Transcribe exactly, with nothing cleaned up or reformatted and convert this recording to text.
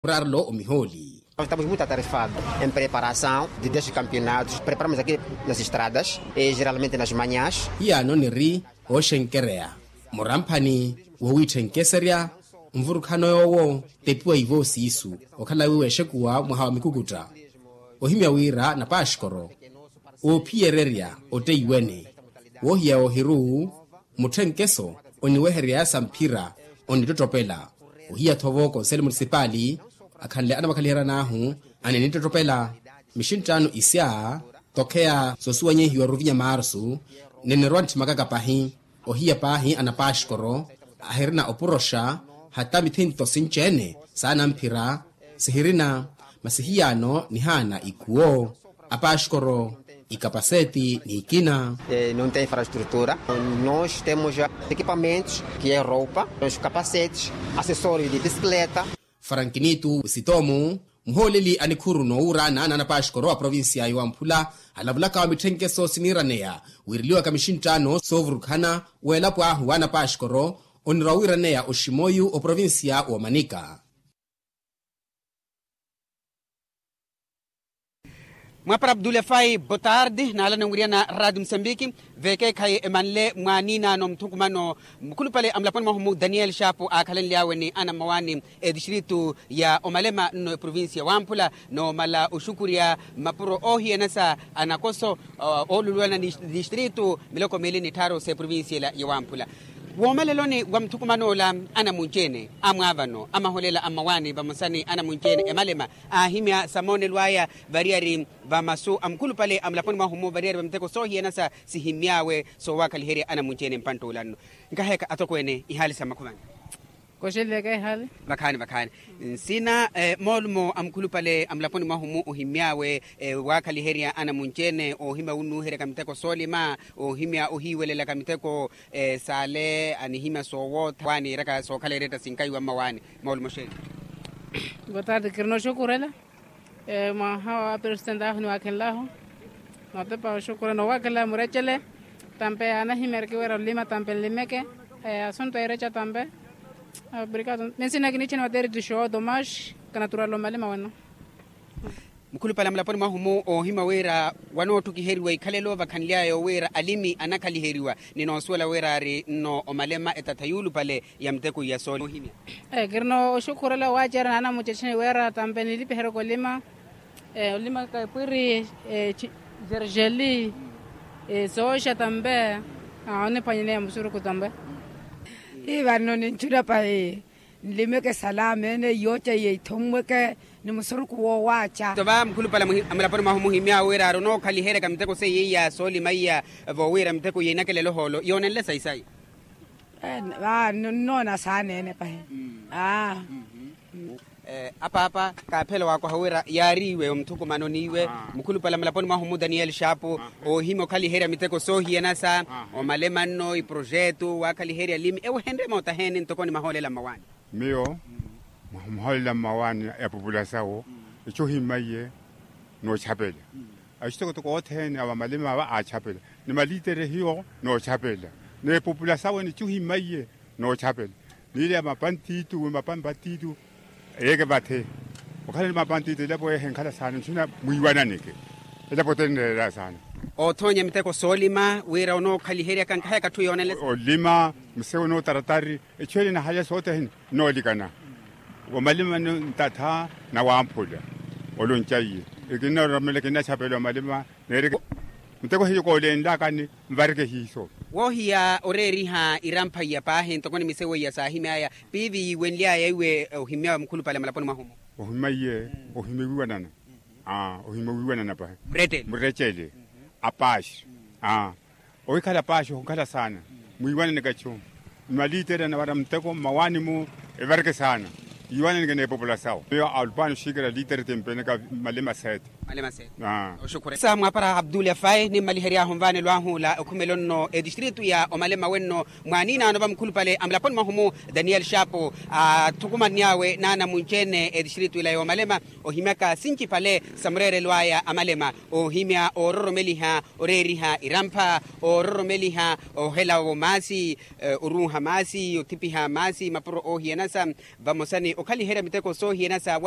Murarlo omihooli. Estamos muita tarefado em preparação de dez campeonatos preparamos aqui nas estradas e geralmente nas manhãs. Hiyaano niri ooxenkereya muramphani wowiitthenkeserya nvurukhano yoowo tepiwa ivo siisu okhala wiiwa exekuwa mwaha wa mikukutta ohimya wira napaxkoro oophiyererya otteiwene woohiya ohiru mutthenkeso oniweherya yaasa mphira onittottopela ohiya-tho vo konsele munisipaali akhanle anamakhaliheryan'ahu aninittottopela mixinttaano isya tokheya soosuwanyehiwa ruvinya marsu ninirwa ntthimaka kapahi ohiya paahi anapaxkoro ahirina opuroxa hata mithinto sinci-ene saana mphira sihirina masi hiyaano nihaana ikhuwo apaxkoro ikapaseti n'ikina. Não tem infraestrutura. Nós temos equipamentos que é roupa, os capacetes, acessórios de bicicleta. Farankinitu sitomu muhooleli a nikhuru n'owuura naana anapaxkoro a provincia ya wamphula alavulaka wa mitthenkeso siniiraneya wiireliwaka mixinttaano soovurukhana w'elapo ahu wa anapaxkoro onirwa wiiraneya oximoyu oprovincia w'omanika. Mwapara abdulefai botarde naalana nwiriyana radio musambiki. Vekeekhayi emanle mwaaniinaano muthukumano mukhulupale a mulaponi mwahu mu daniel shapu aakhalenly'awe ni anammawaani etistritu ya omalema nno eprovincia wamphula noomala oxukurya mapuro oohiyanasa anakoso ooluluwana ni distritu miloko miili ni tthaaru s'eprovincia ela ya wamphula. Woomaleloni wa muthukuman'ola anamunci-ene amwaavano amaholela ammawaani vamosa ni anamunci-ene emalema aahimya samoonelo aya variyari va masu a mukhulupale a mulaponi mwahu-mu variyari va miteko soohiyanasa sihimy'awe soowakhaliherya anamunci-ene mpantt'ula nno. Nkaheka atokweene ihaali sa mmakhuvani. Koxeleleke ihaali. Vakhaani vakhaani. Nsina moolumo a mukhulupale a mulaponi mwahu-mu ohimy'awe waakhaliherya anamunci-ene oohimya wunnuuheryaka miteko soolima oohimya ohiiwelelaka miteko saale anihimya soowootha waaniiraka sookhala eretta sinkayi wa mmawaani. Moolumo xeeni. Botarde kirina oxukurela mwaha wa aperesitenti ahu niwaakhenlahu. Nootepa oxukurela noowaakhenlahu murecele tampe anahimyereke wira olima tampe nlimeke. Asuntu ereca tampe. Obrigado. Minsina kiniicheni wateriti xooto max kanaturala omalima wano. Mukhulupale a mulaponi mwahu-mu oohimya wira wanootthukiheriwa ikhalelo vakhanly'aya owiira alimi anakhaliheriwa ni noosuwela wira ari nno omalema etatha yuulupale ya miteko iya soolima. Kirina oxukhurela owaacerya naanamuceceni wira tampe nilipiheryeke olima. Olimaka epwiri jerjeli sooxa tampe oniphwanyaneya musuruku tampe. Ivanno ninchuna pahi nlimeke salame ene yooca iye ithommweke ni musuruku woowaaca. Tova mukhulupale a mulaponi mwahu muhimy'awe wira ari onookhaliheryaka miteko seiye iya soolima iya voowiira miteko iya inakelela ohoolo yoonenle sayi sayi. Nnoona saaneene pahi. Apaapa kaaphela waakoha wira yaari iwe omuthukumano n'iwe mukhulupale a mulaponi mwahu-mu daniel shapu oohimya okhaliherya miteko soohiyanasa omalema nno iprojetu waakhaliherya limi ewehenrye mootaheeni ntoko ni mahoolela mmawaani. Miyo mwaha omuhoolela mmawaani epupula sawo echu ohimaiye noochapela. Axitokotoko othene a vamalima ava aachapela ni malitere hiyo noochapela n'epupula sawo ene echu ohimaiye noochapela. Niileya mapantitu wi mapampatitu eyeeke vathe okhala ni mapantitu elapo yeehe enkhala saana nchuna mwiiwananeke. Elapo otenelela saana. Oothoonya miteko soolima wira onookhaliheryaka nkahayaka atthu yoonelesa. Olima musewo nootaratari echu ele nahaya sothene. Noolikana omalima ntatha na wamphula. Olonca iye ekinnaromelela kinnachapela omalima neereke. Muteko hiyo koolenlakani nvareke hiiso. Woohiya oreeriha irampha iya paahi ntoko ni misewo iya saahimy'aya piivi yiiwenly'aya iwe ohimy'awe mukhulupale a mulaponi mwahu-mu. Ohimya iye ohimya wiiwanana. Ohimya wiiwanana paahi. Murecele apaaxi. Ohikhala paaxi ohikhala saana mwiiwananeke achu. Ni malitere anavara muteko mmawaani-mu evareke saana. Yiiwananeke n'epopula sawo miyo alupano xikira litere timpeneka malima seete. Malema se. Oxukhuresa mwapara abdul afayi nimmalihery'ahu nvaanelo ahu ola okhumela onno etistritu ya omalema wenno, mwaaniinaano vamukhulupale amulaponi mwahu-mu, daniel shapu athukumanny'awe naana munci-ene etistritu ila ya omalema, ohimyaka sincipale sa mureerelo aya a malema, ohimya oororomeliha oreeriha irampha, oororomeliha ohela-vo maasi, oruuha maasi othipiha maasi mapuro oohiyanasa, vamosa ni okhaliherya miteko soohiyanasa.